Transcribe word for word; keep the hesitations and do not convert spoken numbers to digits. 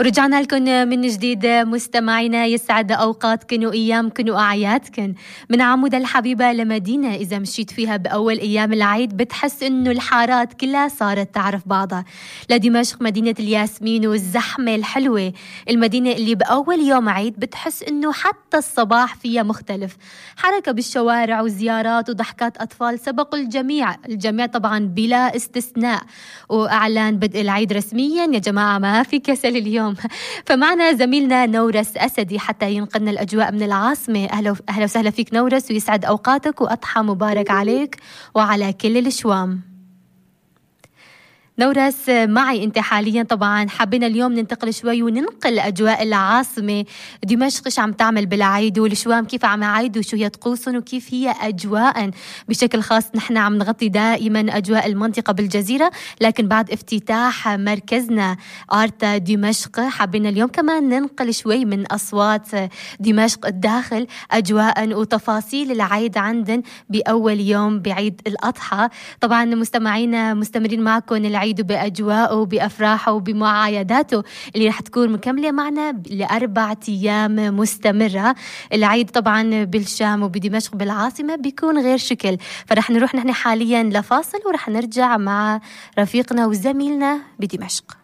ورجعنا لكم من جديد مستمعينا، يسعد أوقاتكن وأيامكن وأعيادكن. من عمودة الحبيبة لمدينة إذا مشيت فيها بأول أيام العيد بتحس إنه الحارات كلها صارت تعرف بعضها، لدمشق مدينة الياسمين والزحمة الحلوة، المدينة اللي بأول يوم عيد بتحس إنه حتى الصباح فيها مختلف، حركة بالشوارع وزيارات وضحكات أطفال سبقوا الجميع الجميع طبعا بلا استثناء، وأعلان بدء العيد رسميا يا جماعة ما في كسل اليوم. فمعنا زميلنا نورس أسدي حتى ينقلنا الأجواء من العاصمة. أهلا أهلا وسهلا فيك نورس، ويسعد أوقاتك وأضحى مبارك عليك وعلى كل الشوام. نورس معي أنت حاليا، طبعا حبينا اليوم ننتقل شوي وننقل أجواء العاصمة دمشق، إيش عم تعمل بالعيد، والشوام كيف عم يعيدوا وشو هي طقوسهم وكيف هي أجواء بشكل خاص. نحن عم نغطي دائما أجواء المنطقة بالجزيرة، لكن بعد افتتاح مركزنا آرتا دمشق حبينا اليوم كمان ننقل شوي من أصوات دمشق الداخل أجواء وتفاصيل العيد عندن بأول يوم بعيد الأضحى. طبعا مستمعينا مستمرين معكم العيد بأجواءه وبأفراحه وبمعايداته اللي رح تكون مكملة معنا لأربع أيام مستمرة. العيد طبعا بالشام وبدمشق بالعاصمة بيكون غير شكل، فرح نروح نحن حاليا لفاصل ورح نرجع مع رفيقنا وزميلنا بدمشق.